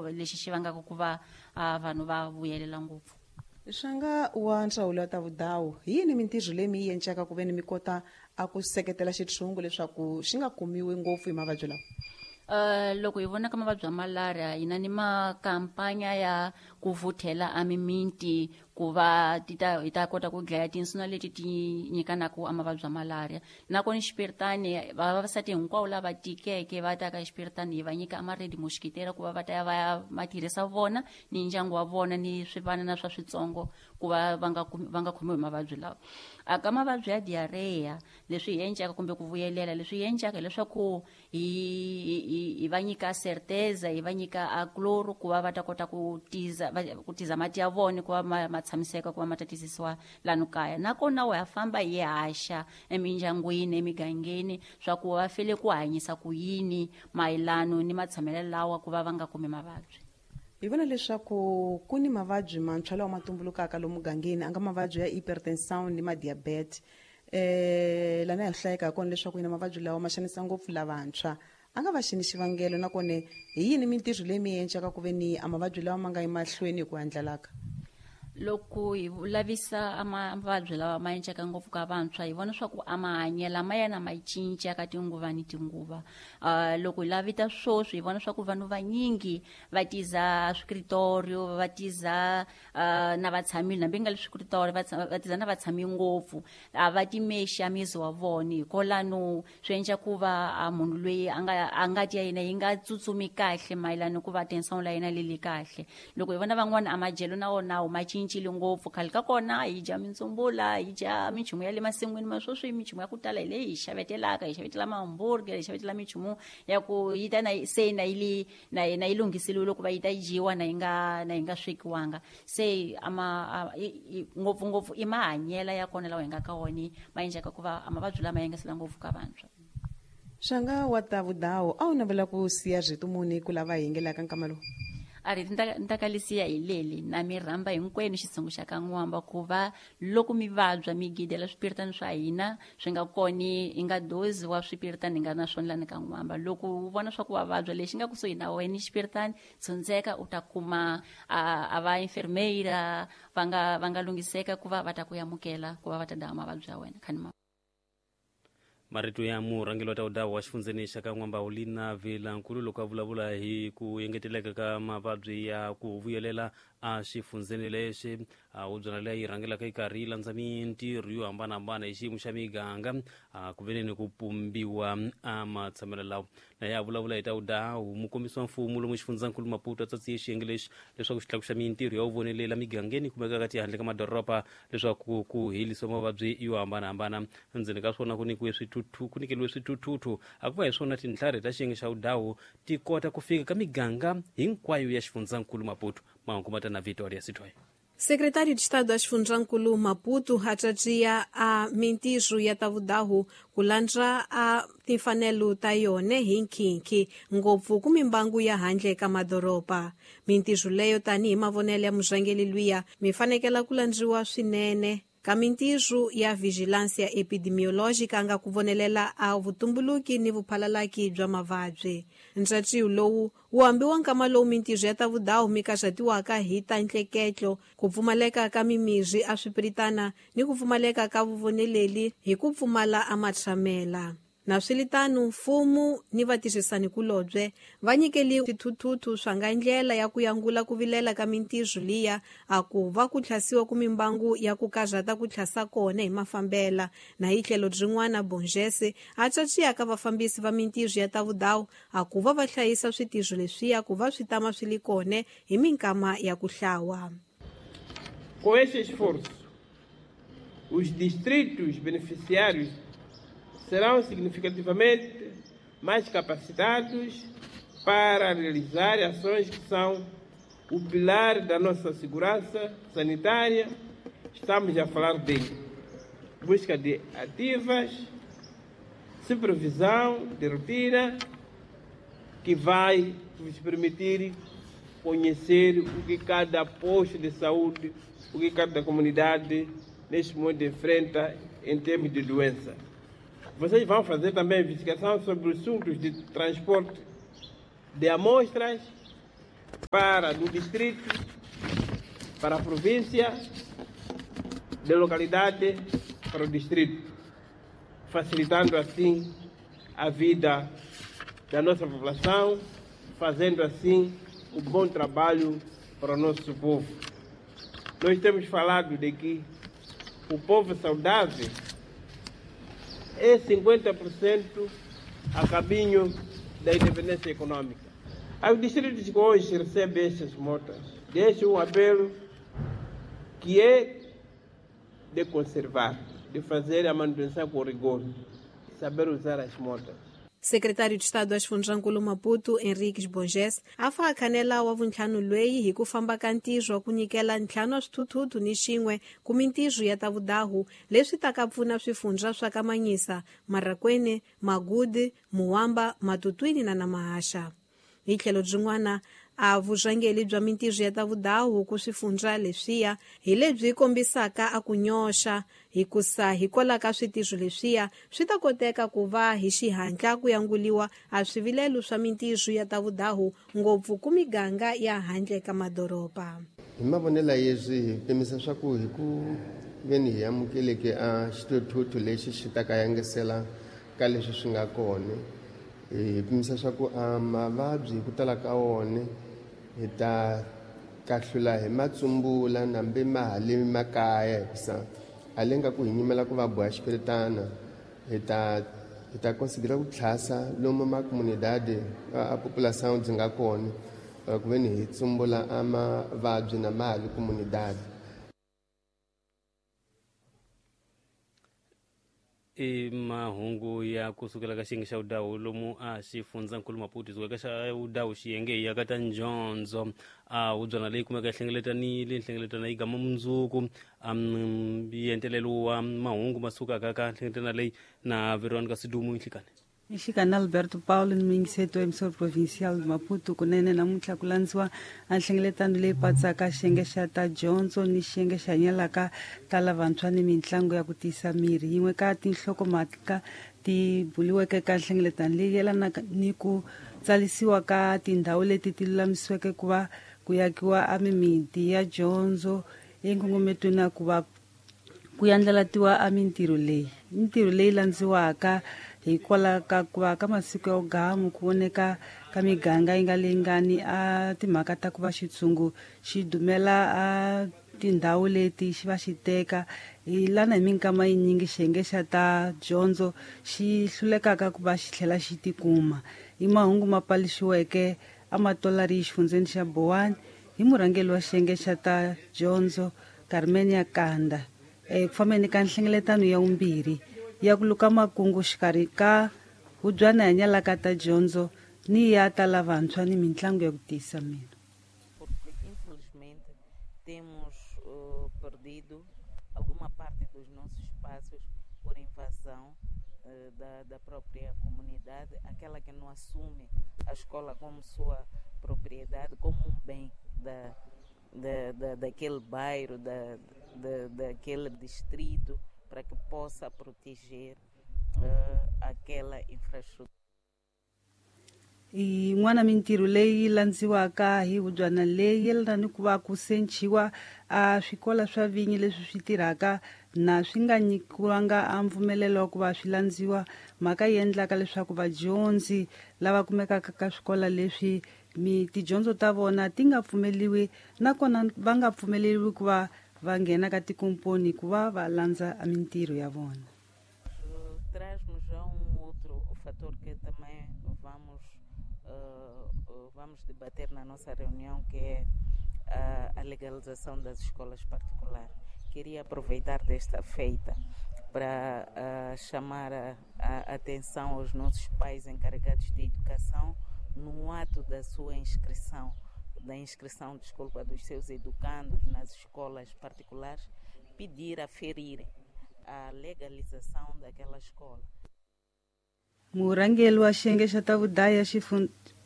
Lexi xi vangaka ku va vanhu va vuyelela ngopfu. Xanga wa ndzawulo ya ta vudawu, hi yini mintirho leyi mi yi endlaka ku ve ni mi kota a ku seketela xitshungu leswaku xi nga kumiwi ngopfu hi mavabyi lawa? Loko hi vona ka mavabyi ya malaria, hi na ni makampanya ya ku vuthela a mimiti ku va ti ta hi ta kota ku dlaya tinsuna leti ti nyikanaka a mavabyi ya malaria. Nakona xipiritani, vavasati hinkwavo lava tikeke va ta ka xipiritani, hi va nyika a ma-red mosquitero ku va va ta ya va ya ma tirhisa vona ni ndyangu wa vona ni swivanana swa switsongo ku va va nga khomiwi hi mavabyi lawa. A ka mavabyi ya diarrhea, leswi hi endlaka kumbe ku vuyelela, leswi hi endlaka hileswaku hi va nyika certeza, hi va nyika a chloro ku va va ta kota ku tiza mati ya vona ku va ma tshamiseka, ku va ma ta tizisiwa lano kaya. Nakona wa famba hi haxa emindyangwini, emigangeni, swa ku va fele ku hanyisa ku yini mayelano ni matshamelo lawa ku va va nga kumi mavabyi. Hi vona leswaku ku ni mavabyi mantshwa lawa ma tumbulukaka lomu mugangeni, a nga mavabyi ya hypertension ni madiabete. Lana hi hlayeka kona leswaku yina mavabyi lawa ma xanisa ngopfu lavantshwa. A nga va xini xivangelo, nakona hi yini mintirho leyi mi endlaka ku ve ni a mavabyi lawa ma nga yi mahlweni hi ku andlalaka? Loko hi lavisa mavabyi lawa ma endleka ngopfu ka vantshwa, hi vona swa ku a mahanyelo ma yena ma cinca ka tinguva ni tinguva. Loko hi lavita swoswi, hi vona swa ku vanhu vanyingi va tiza swikritorio, va tiza na vatshamile, hambi nga le swikritorio va tiza na vatshami ngopfu, a va timexi a mizi wa vona. Hikolano swi endla ku va a munhu loyi a nga a ngati ya yena yi nga tsutsumi kahle mayelana ku va tension la yena leli kahle. Loko hi vona van'wana, a madyelo na wona ma cincile ngopfu. Khale ka kona hi dya mintsumbula, hi dya minchumu ya le masin'wini, ma sweswi minchumu ya ku tala hi leyi hi xavetelaka, hi xavetela ma-hamburger, hi xavetela minchumu ya ku yi ta na se na yi li na yi lunghiseliwe ku va yi ta dyiwa na yi nga swekiwanga. Se ama ngopfungopfu i mahanyelo ya kona lawa hi nga ka wona ma endlaka ku va a mavabyi lama yangasela ngopfu ka vantshwa. Xanga wa ta vudawu, a wu navela ku siya rito muni ku lava hi yingelaka nkama lowu? A ri ni ta kalisiya hi leli na mi rhamba hinkwenu xitshungu xa ka N'wamba ku va loko mi vabya mi gidela swipiritani swa hina swi nga koni hi nga dozi wa swipiritani hi nga na swona lani ka N'wamba. Loko u vona swa ku wa vabya, lexi nga kusuhi na wena xipiritani, tshundzeka u ta kuma a va enfermeira va nga lunghiseka ku va va ta ku amukela ku va va ta daha mavabyi ya wena khani ma. Marito ya murhangeri wa taudawu wa xifundzeni xa ka N'wamba, Ulina Vilankulu, loko a vulavula hi ku engeteleka ka mavabyi ya ku vuyelela a xifundzeni lexi. Hubyana leyi yi rhangelaka yi karhi yi landza mintirho yo hambanahambana hi xiyimo xa miganga ku veneni ku pumbiwa a matshamelo lawa. Na ya vulavula hi ta vudawu, mukombisi wa mfumo lomu xifundzankulu Maputo a tsatsiye xiyenge lexi leswaku xi tlakuxa mintirho ya vuvonelela migangeni kumekaka tihandle ka madoroba leswaku ku herisiwa mavabyi yo hambanahambana. Endzeni ka swona ku nyikiwe swithuthu, ku nyikeliwe swithuthuthu, a ku va hi swona tintlhari ta xiyenge xa vudawu ti kota ku fika ka miganga hinkwayo ya xifundzankulu Maputo. Mahungu ma ta na Victoria Sithoy. Secretário de Estado da Xifundzhankulu Maputo acacia a mintirho ya tavudahu ku landza a timfanelo ta yona hi nkhinkhi, ngopfu ku mimbangu ya handle ka madoroba. Mintirho leyo, tanihi mavonelo ya murhangeri luya, mi fanekela ku landziwa swinene ka mintirho ya vigilância epidemiológica nga ku vonelela a vutumbuluki ni vuphalalaki bya mavabyi. Ntshatsiwo lowu wu hambiwa nkama lowu mintirho ya ta vudawu mi kaxatiwaka hi ta ntleketlo, ku pfumaleka ka mimirhi a swipiritana ni ku pfumaleka ka vuvoneleli hi ku pfumala a matshamela. Naswilitano, mfumo ni vatirhisanikulobye va nyikeli swithuthuthu swa nga ndlela ya ku yangula ku vilela ka mintirho liya a ku va ku tlhasiwa ku mimbangu ya ku karhata ku tlhasa kona hi mafambela. Na hi tlhelo rin'wana, Bongese a caciya ka vafambisi va mintirho ya ta vudawu a ku va va hlayisa switirho leswiya ku va swi tama swi li kona hi minkama ya ku hlawa. Com este esforço, os distritos beneficiários serão significativamente mais capacitados para realizar ações que são o pilar da nossa segurança sanitária. Estamos a falar de busca de ativas, supervisão de rotina, que vai nos permitir conhecer o que cada posto de saúde, o que cada comunidade neste momento enfrenta em termos de doença. Vocês vão fazer também investigação sobre assuntos de transporte de amostras. Para do distrito, para a província, de localidade para o distrito, facilitando assim a vida da nossa população, fazendo assim o bom trabalho para o nosso povo. Nós temos falado de que o povo saudável é 50% a caminho da independência econômica. Os distritos que hoje recebem essas motas, deixo um apelo que é de conservar, de fazer a manutenção com rigor, saber usar as motas. Secretário de Estado wa Xifundzankulu Maputo Henriques Borges a fa khanela wa vuntlhanu lweyi hi ku famba ka ntirho wa ku nyikela ntlhanu wa swithuthuthu ni xin'we ku mintirho ya ta vudahu leswi taka pfuna swifundza swa ka Manyisa, Marakwene, Magude, Muwamba, Matutwini na Namahasha. Hi tlhelo byin'wana a vurhangeri bya mintirho ya ta vudahu ku swifundza leswiya hi lebyi kombisaka a ku nyoxa hikusa hikwalaho ka switirho leswiya swi ta koteka ku va hi xihatla ku yanguliwa a swivilelo swa mintirho ya ta vudahu ngopfu ku miganga ya handle ka madoroba. Hi mavonelo yeswi hi pimisa swa ku hi ku veni hi amukeleke a xithuthuthu lexi xi ta ka yangisela ka leswi swi nga kona, hi pimisa swa ku a mavabyi hi ku tala ka wona hi ta kahlula hi matsumbula nambe ma ha le makaya, hikusa a le nga ku hi nyimela ku va boha xipiritana, hi ta considera ku tlhasa lomu ma comunidade a population byi nga kona ku veni hi tsumbula a mavabyi na ma ha le comunidade. I mahungu ya kusukela ka xiyenge xa vudawu lomu a xifundzankulu Maputo suka ka xa vudawu xiyenge ya ka ta njondzo a hubyana leyi kumeka hlengeletanile nhlengeletano yi gama mundzuku yentelelo wa mahungu ma sukaka ka nhlengeletano leyi na Veronica Sidumo Nhlikane. Nhlikane Alberto Paulo ni muyingiseti wa emissora provincial Maputo kunene namuntlha ku landziwa a nhlengeletano leyi patsaka xiyenge xa ta dyondzo ni xiyenge xa hanyelaka ta lavantshwa ni mitlangu ya ku tiyisa miri. Yin'we ka tinhlokomhaka ti buliweke ka nhlengeletano leyi yelanaka ni ku tsalisiwa ka tindhawu leti ti lulamisiweke ku va ku yakiwa a mimiti ya dyondzo enkongometweni ya ku va ku yandlalatiwa a mintirho leyi. Mintirho leyi landziwaka hikwalaho ka ku va ka masiku ya gamu ku voneka ka miganga yi nga lingani a timhaka ta ku va xitshungu xi dumela a tindhawu leti xi va xi teka hi lana hi minkama yinyingi xiyenge xa ta dyondzo xi hlulekaka ku va xi tlhela xi tikuma. I mahungu ma paluxiweke a matolari xifundzeni xa Bowani hi murhangeri wa xiyenge xa ta dyondzo Carmen Yakanda eku fambeni ka nhlengeletano ya vumbirhi ya ku luka makungu xikarhi ka hubyana hanyalaka ta dyondzo ni ya ta lavantshwa ni mitlangu ya ku tiyisa miri. Porque infelizmente temos perdido alguma parte dos nossos espaços por invasão da própria comunidade, aquela que não assume a escola como sua propriedade, como um bem daquele bairro, daquele distrito, para que possa proteger aquela infraestrutura. I n'wana mintirho leyi landziwaka hi hubyana leyi yelana ni ku va ku senciwa a swikola swa vinyi leswi swi tirhaka na swi nga nyikiwanga a mpfumelelo wa ku va swi landziwa, mhaka yi endlaka leswaku vadyondzi lava kumekaka ka swikola leswi mi tidyondzo ta vona ti nga pfumeliwi nakona va nga pfumeleriwi ku va va nghena ka tikomponi ku va va landza a mintirho ya vona. Traz-nos já outro fator que também vamos debater na nossa reunião, que é a legalização das escolas particulares. Queria aproveitar desta feita para chamar a atenção aos nossos pais encarregados de educação no ato da sua inscrição, dos seus educandos nas escolas particulares, pedir, aferir a legalização daquela escola. Murhangeri wa xiyenge xa ta vudaya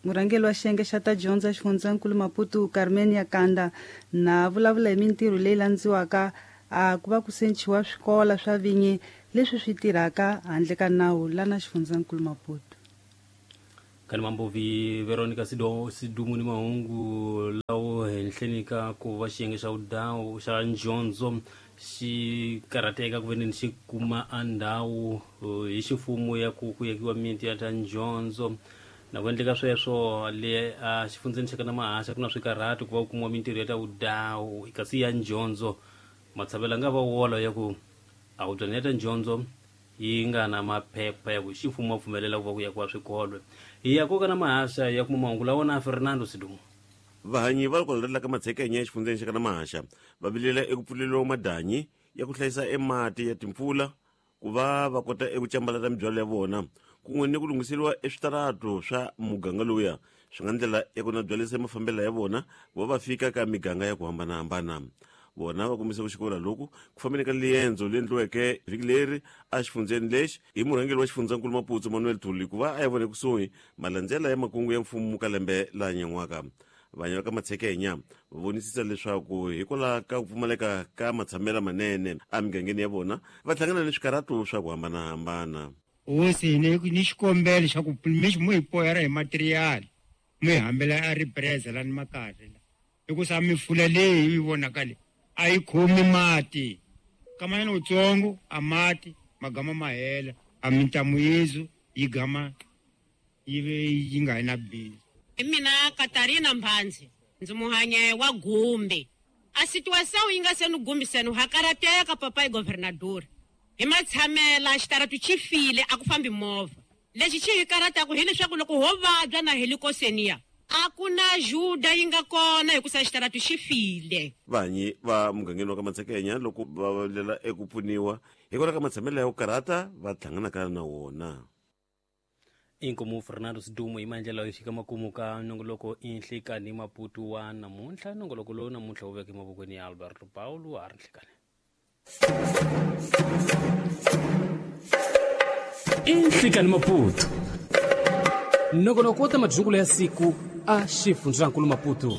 murhangeri wa xiyenge xa ta dyondzo xifundzankulu Maputo Carmen Yakanda na vulavula hi mintirho leyi landziwaka a ku va ku senciwa swikola swa vinyi leswi swi tirhaka handle ka nawu lana xifundzankulu Maputo. Khani Mambovi Veronica Sidumu ni mahungu lawo henhleni ka ku va xiyenge xa vudawu xa njondzo xi karhateka ku veneni xi kuma a ndhawu hi xifumo ya ku yakiwa miti ya ta njondzo. Na ku endleka sweswo le a xifundzeni xa kana Mahasha ku na swikarhato ku va ku kumiwa mintirho ya ta vudawu kasi ya njondzo matshamelo nga va wola ya ku a wu byana ya ta njondzo yi nga na maphepha ya ku ximfumo wa pfumelela ku va ku yakiwa swikolo. Hi ya koka na Mahasha ya kuma mahungu lawa na Fernando Sidumo. Vahanyi va kwala ka Matshekenya exifundzeni xa kana Mahasha va vilela eku pfuleriwa madanyi ya ku hlayisa emati ya timpfula ku va va kota eku cambalata mibyalo ya vona kun'we ni ku lunghiseriwa eswitaratu swa muganga lowuya swi nga ndlela ya ku na byalisa mafambelo ya vona ku va va fika ka miganga ya ku hambanahambana. Vona va kombisa ku xikola loku ku fambeni ka liendzo leri endliweke vhiki leri exifundzeni lexi hi murhangeri wa xifundzankulu Maputo Manuel Thuli ku va a ya vona ekusuhi malandzela ya makungu ya mfumo ka lembe la nyan'waka. Vanhu va ka Matshekenya va vonisisa leswaku hikwalaho ka ku pfumaleka ka matshamelo manene emigangeni ya vona va hlangana ni swikarhato swa ku hambanahambana. Hosi ni xikombelo xa ku mi hi poyara hi material mi hambela a ripresa lani makaya hikusa mifula leyi yi vonaka le a yi khomi mati kamanyana utsongo a mati magama ma hela a mintamu yezu yi gama yi ve yi nga yi na bindzu. Hi mina Katarina Mbhandzi ndzi muhanye wa Gumbi. A situação yi nga se ni gumbiseni ha karateka papai governador. Hi matshamela xitaratu xi file a ku fambi movha. Lexi xi hi karataku hileswaku loko ho vabya na helikosenia a ku na juda yi nga kona hikusa xitaratu xi file. Vanyi va mugangeni wa ka Matshekenya loko va vilela eku pfuniwa hikwalaho ka matshamelo ya ku karhata va hlanganaka na wona. Inkomu Fernando Sidumo hi maendlelo yo xika makumu ka nongoloko inhlekani Maputo wa namuntlha. Nongoloko lowu namuntlha wu veke mavokweni ya Alberto Paulo a ri nhlekani. Inhlekani Maputo nongonoko wa ta madyungulo ya siku a xifundzankulu Maputo.